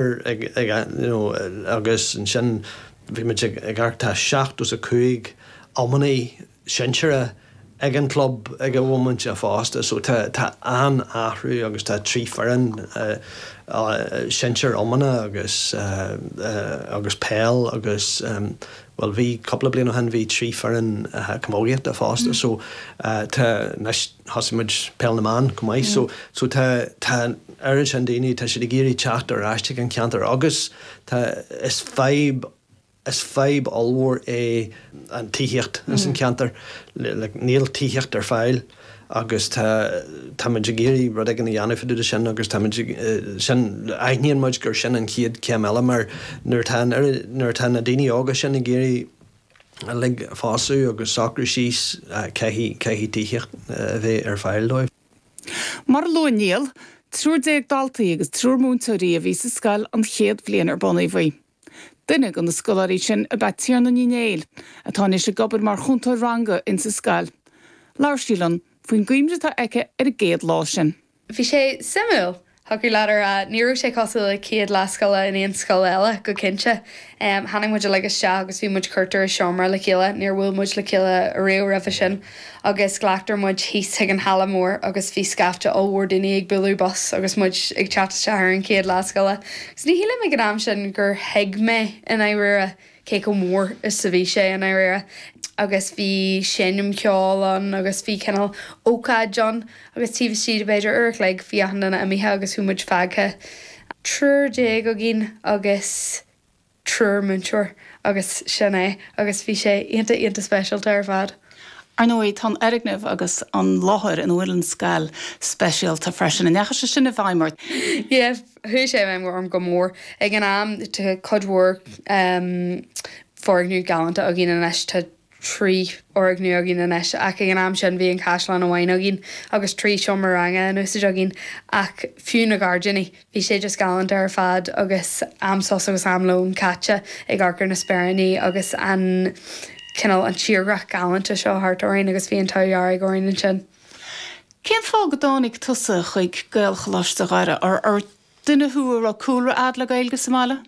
Ag you know agus ansin bhí muid ag amharc tá 75 iománaí sinsearach ag an club ag an bhomaite fosta so tá tá an-athrú agus tá 3 foireann sinsear iomána agus agus peil agus bhuel bhí cúpla bliain ó shin bhí 3 foireann camógaíochta fosta so tá anois thosaigh muid peil na mban chomh maith so so tá tá an oiread sin daoine tá siad ag iarraidh teacht ar ais chuig an cheantar agus tá is fadhb is fadhb ollmhór é an tithíocht ins an cheantar like níl tithíocht ar fáil agus tá tá muid ag iarraidh rud éigin a dhéanamh fá dtaobh de sin agus tá muid ag sin aithníonn muid gur sin an chéad chéim eile mar nuair atá an oiread nuair atá na daoine óga sin ag iarraidh uilig pósadh agus socrú síos, caithfidh, caithfidh tithíocht a bheith ar fáil dóibh. Mar a luaigh Niall, 13 daltaí agus triúr múinteoirí a bhí sa scoil an chéad bhliain ar bunaíodh í. Duine de na scoláirí sin ab ea Tiarna Ní Néill, atá anois ag obair mar chúntóir ranga insa scoil. Labhair sí linn faoin gcuimhne atá aici ar an gcéad lá sin. Bhí sé suimiúil, thiocfadh leat a rá. Ní raibh sé cosúil le céad lá scoile in aon scoil eile, go cinnte. Tháinig muid uilig isteach agus bhí muid cuirtear i seomra le chéile, níor bhuail muid le chéile ariamh roimhe sin, agus glactar muid thíos chuig an halla mór agus bhí scaifte ollmhór daoine ag bualadh bos agus muid ag teacht isteach ar an chéad lá scoile. Agus ní shílim ag an am sin gur thuig mé i ndáiríre cé chomh mór is a bhí sé i ndáiríre agus bhí seinm cheoil ann agus bhí cineál ócáid ann agus taobh istigh de b'fhéidir uair a chloig bhí achan duine imithe agus chuaigh muid fágtha 13 againn agus triúr múinteoir agus sin é agus bhí sé iontach iontach speisialta ar fad. Ar ndóigh, tá an fhoirgneamh agus an láthair ina bhfuil an scoil speisialta freisin. An ndeachaigh sé sin i bhfeidhm ort? Yeah, chuaigh sé i bhfeidhm orm go mór. Ag an am, tá cuid mhór foirgneamh galánta againn anois, tá 3 fhoirgneamh againn anois, ach ag an am sin bhí an caisleán amháin againn agus 3 seomra ranga in úsáid againn. Ach fiú na gairdíní, Bhí sé just galánta ar fad agus am sos agus am lóin caite ag amharc ar na speiríní agus an cineál, an tírdhreach galánta seo thart orainn agus bhí an t-ádh dearg orainn ansin. Cén fáth go dtáinig tusa chuig Gaelcholáiste Dhoire? Ar duine thú a raibh cúlra a'd le Gaeilge sa mbaile?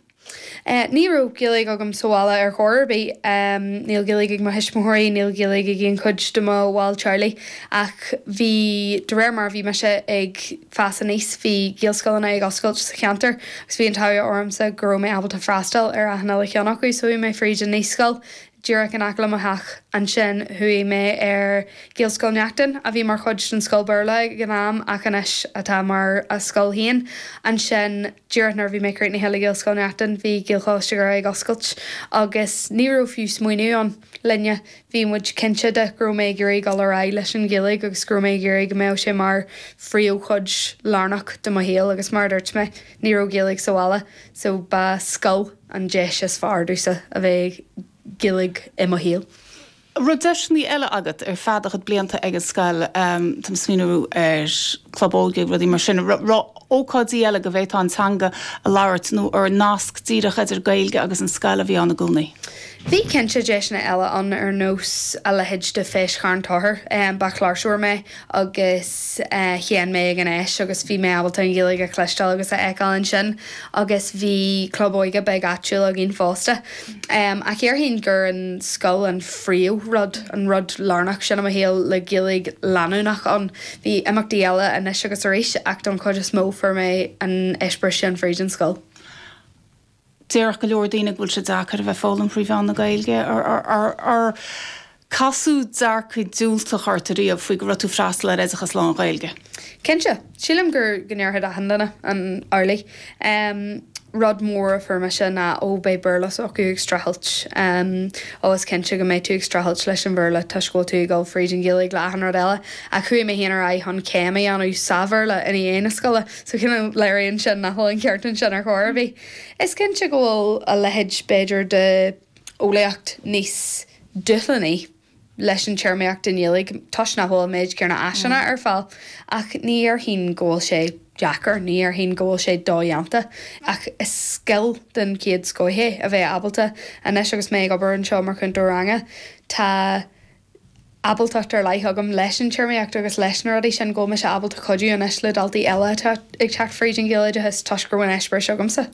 Ní raibh Gaeilge agam sa bhaile ar chor ar bith. Níl Gaeilge ag mo thuismitheoirí, níl Gaeilge ag aon chuid de mo bhaill teaghlaigh. Ach bhí, de réir mar a bhí mise ag fás aníos, bhí Gaelscoileanna ag oscailt sa cheantar agus bhí an t-ádh ormsa go raibh mé ábalta freastal ar achan uile cheann acu. So chuaigh mé fríd an naíscoil díreach in aice le mo theach. Ansin chuaigh mé ar Ghaelscoil Neachtain, a bhí mar chuid den scoil Béarla ag an am ach anois atá mar a scoil féin. Ansin, díreach nuair a bhí mé críochnaithe le Gaelscoil Neachtain, bhí Gaelcholáiste Dhoire ag oscailt agus ní raibh fiú smaoineamh ann linne. Bhí muid cinnte de go raibh mé ag iarraidh dul ar aghaidh leis an Ghaeilge agus go raibh mé ag iarraidh go mbeadh sé mar phríomhchuid lárnach de mo shaol agus mar a dúirt mé, ní raibh Gaeilge sa bhaile so ba scoil an deis is fearr domhsa a bheith Gaeilge i mo shaol. An raibh deiseanna eile agat ar feadh do chuid blianta ag an scoil, táim ag smaoineamh ar club óige, rudaí mar sin, raibh ócáidí eile go bhféadfá an teanga a labhairt nó ar nasc díreach idir Gaeilge agus an scoil a bhí ann i gcónaí? Bhí cinnte deiseanna eile ann ar nós a leithéid de Feis Charn Tóchair. Ba chláirseoir mé agus sheinn mé ag an fheis agus bhí mé ábalta an Ghaeilge a chloisteáil agus a fheiceáil ansin agus bhí club óige beag áitiúil againn fosta. Ach déarfainn gur an scoil an phríomh rud, an rud lárnach sin i mo shaol le Gaeilge leanúnach ann. Bhí imeachtaí eile anois agus arís ach don chuid is mó fuair mé an eispéireas sin fríd an scoil. Déarfadh go leor daoine go bhfuil sé deacair a bheith ag foghlaim thrí mheán na Gaeilge. Ar casadh dearcadh diúltach ort ariamh faoi go raibh tú ag freastal ar oideachas lán-Ghaeilge? Cinnte. Sílim gur go ndéarfadh achan duine amhlaidh. Rud mór a fuair mise ná ó beidh Béarla s'acu ag streachailt. Ó is cinnte go mbeidh tú ag streachailt leis an Bhéarla toisc go bhfuil tú ag dul fríd an Ghaeilge le achan rud eile. Ach chuaigh mé féin ar aghaidh chun céim a dhéanamh sa Bhéarla i ndiaidh na scoile. So cineál léiríonn sin nach bhfuil an ceart ansin ar chor ar bith. Is cinnte go bhfuil a leithéid b'fhéidir de eolaíocht níos dúshlánaí leis an téarmaíocht i nGaeilge toisc nach bhfuil an méid céanna áiseanna ar fáil. Ach ní dhéarfainn go bhfuil sé deacair, ní dhéarfainn go bhfuil sé dodhéanta. Ach is scil den chéad scoth é a bheith ábalta. Anois agus mé ag obair anseo mar chúntóir ranga, tá. ábaltacht ar leith agam leis an téarmaíocht agus leis na rudaí sin go bhfuil mise ábalta cuidiú anois le daltaí eile atá ag teacht fríd an Ghaeloideachas toisc go raibh an eispéireas agamsa.